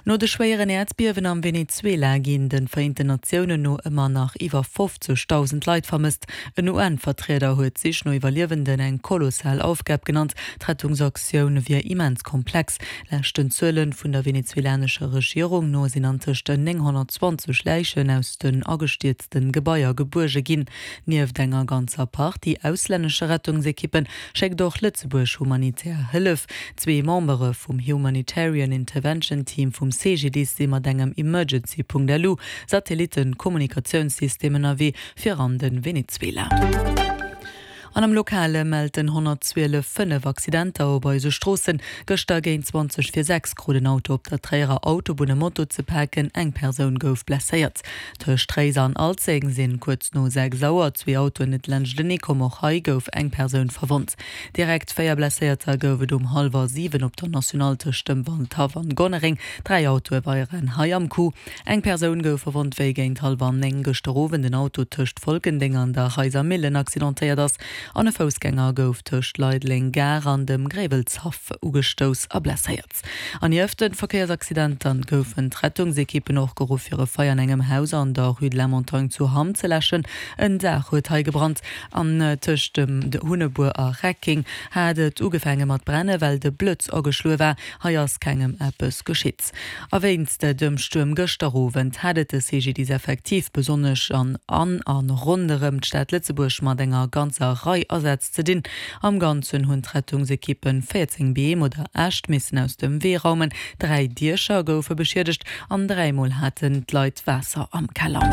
No de schwéieren Äerdbiewen am Venezuela ginn de Vereenten Natiounen no ëmmer nach iwwer 50.000 Leit vermësst. En UN-Vertrieder huet d'Sich no Iwwerliewenden eng kolossal Aufgab genannt. D'Rettungsaktioun wier immens komplex. Leschten Zuele vun der venezuelanescher Regierung no sinn antëscht 920 Läichen aus den agestierzten Gebaier gebuerge ginn. Nieft enger ganzer Partie auslännesche Rettungsekippen schéckt och Lëtzebuerg humanitär Hëllef. Zwee Membere vum Humanitarian Intervention Team vum CGDIS si mat engem Emergency.lu Satellitten-Kommunikatiounssystem ënnerwee fir an de Venezuela. An am Lokale mellt den 112 5 Accidenter op eise Stroossen. Gëschter géint 20 vir 6 krut en Auto op der Tréierer Autobunn e Moto ze paken, eng Persoun gouf blesséiert. Tëscht Tréiser an Alzeng sinn kuerz no 6 Auer zwee Autoen net laanschtenee komm. Och hei gouf eng Persoun verwonnt. Direkt 4 Blesséierter gouf et um hallwer 7 op der Nationale tëscht dem Waldhaff an Gonnereng. 3 Autoe waren hei am Coup. Eng Persoun gouf verwonnt, wéi géint hallwer 9 gëschter Owend en Auto tëscht Folkendeng an der Reiser Millen accidentéiert ass an e Foussgänger gouf tëscht Leideleng Gare an dem Gréiwelshaff ugestouss a blesséiert. An nieft de Verkéiersaccidenter goufen d'Rettungsekippen och geruff fir e Feier an engem Haus an der Rue de la Montagne zu Hamm ze läschen. En Daach huet hei gebrannt an tëscht dem Hunnebuer a Reckeng hat et ugefaange mat brenne well de Blëtz ageschloe war. Hei ass kengem eppes geschitt. A wéinst dem Stuerm gëschter Owend hat et de CGDIS effektiv besonnesch an an a ronderëm d'Stad Lëtzebuerg mat enger ganzer Rei Asätz ze dinn. Am Ganzen hunn d'Rettungsekippen 14 Beem oder Äscht missen aus dem Wee raumen, 3 Diecher goufe beschiedegt an 3 Mol haten d'Leit Waasser am Keller.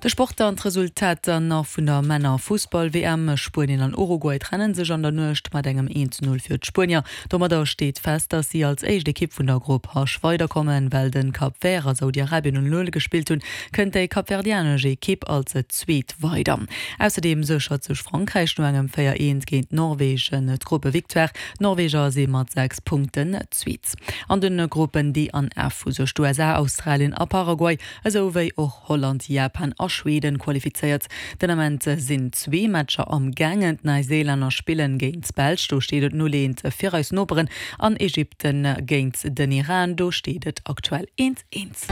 De Sport an d'Resultater nach vun der Männer-Fussball-WM, Spuenien an Uruguay trennen sech an der Nuecht mat engem 1 zu 0 fir d'Spuenier. Domadder steet fest, datt si als éischt Ekipp vun der Grupp H weiderkommen. Well de Cap Vert a Saudi-Arabien 0 0 gespillt hunn, kënnt déi kapverdianesch Ekipp als Zweet weider. Ausserdeem séchert sech Frankräich no engem 4 1 géint Norwegen d'Gruppevictoire. D'Norweger si mat 6 Punkten Zweet. An de Gruppen D an F hu sech d'USA, Australien a Paraguay esou wéi och Holland, Japan a Schweden qualifizéiert. Den Ament sinn zwee Matcher am gaangen. D'Neiséilänner spillen géint d'Belsch, do steet et 0, 1 fir eis Noperen, an Ägypten géint den Iran, do steet et aktuell 1, 1.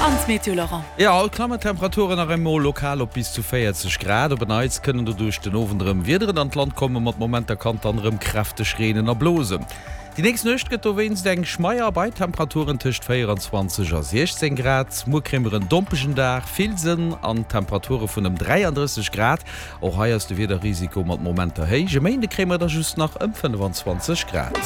An d'Meteo, Laurent? Jo, haut klammen d'Temperaturen nach emol lokal op bis zu 40 Grad. Op en Neits kënnen doduerch den Owend erëm Wiederen an d'Land kommen. Mat Momenter kann et dann erëm kräfteg reenen a blosen. Déi nächst Nuecht gëtt dowéinst eng schmeier bei Temperaturen tëscht 24 a 16 Grad. Muer kréie mer en dompegen Dag, vill Sënn an Temperature vun ëm 33 Grad. Och hei ass de Wiederrisiko mat Momenter héich. E Méinde kréie mer der just nach ëm 25 Grad.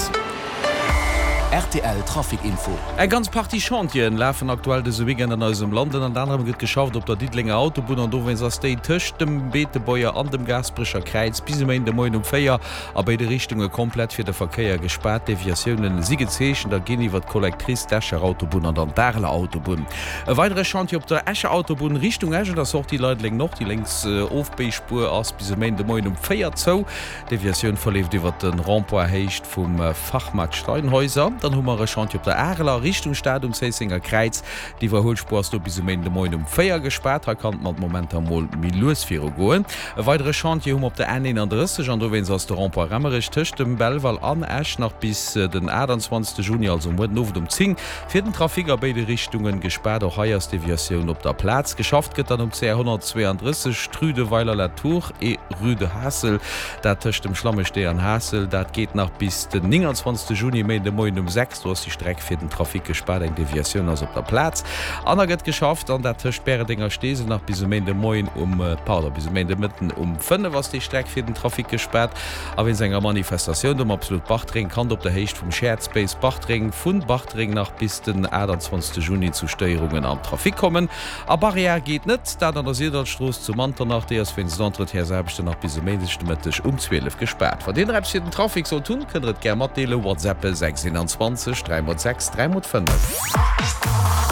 Rtl Trafic Info. Eng ganz Partie Chantieren lafen aktuell dëse Weekend an eisem Land. Ënnert anerem gëtt geschafft op der Diddelenger Autobunn an dowéinst ass déi tëscht dem Beetebuerger an dem Gaasperecher Kräiz bis e Méinde Moien um 4 A béide Richtunge komplett fir de Verkéier gespaart. Deviatioune si gezeechent a ginn iwwer d'Collectrice, d'Escher Autobunn an dann d'Areler Autobunn. E weidere Chantier op der Escher Autobunn Richtung Esch un der Sortie Leideleng Nord. Déi lénks Ofbéispuer ass bis e Méinde Moien um 4 zou. D'Deviatioun verleeft iwwer de Rond-point Héicht vum Fachmarkt Steinhäuser. Dann hu mer e Chantier op der Areler Richtung Stad um Zéissenger Kräiz. D'Iwwerhuelspuer ass do bis e Méinden de Moien um 4 gespaart. Hei kann et mat Momenter mol méi lues viru goen. E weidere Chantier hu mer op der N 31 an dowéinst ass de Rond-point Remmerech tëscht dem Belval an Esch nach bis den 28 Juni, also muer den Owend um 10, fir den Trafic a béide Richtungen gespaart. Och hei ass d'Deviatioun op der Plaz. Geschafft gëtt dann um CR 132, d'Rue de Weiler-la-Tour et Rue de Haassel, dat tëscht dem Schlammestee an Haassel. Dat geet nach bis den 29 Juni, Méinden de Moien um 6. Do ass déi Streck fir den Trafic gespaart, eng Deviatioun ass op der Plaz an da gëtt geschafft an dat tëscht Bäreldeng a Steesel nach bis e Méindemoien um, pardon, bis e Méindemëtten um 5 ass déi Streck fir den Trafic gespaart. A wéinst enger Manifestatioun do um Absolut Bartreng kann et op der Héicht vum Shared Space Bartreng vun Bartreng nach bis den 28 Juni zu Stéierungen am Trafic kommen. A Barrière geet net, dat an der Syrdallstrooss zu Manternach. Déi ass wéinst Entretiensaarbechten nach bis e Méindeg de Mëtteg um 12 gespaart. Wann Dir nach eppes fir den Trafic sollt hunn, kënnt der et gär matdeelen. WhatsAppe 6 21 3 x 6 3 x 5.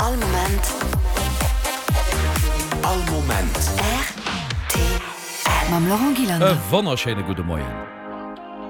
All Moment. All Moment. Rtl. Mam Laurent E Gillander. wonnerschéine gudde Moien.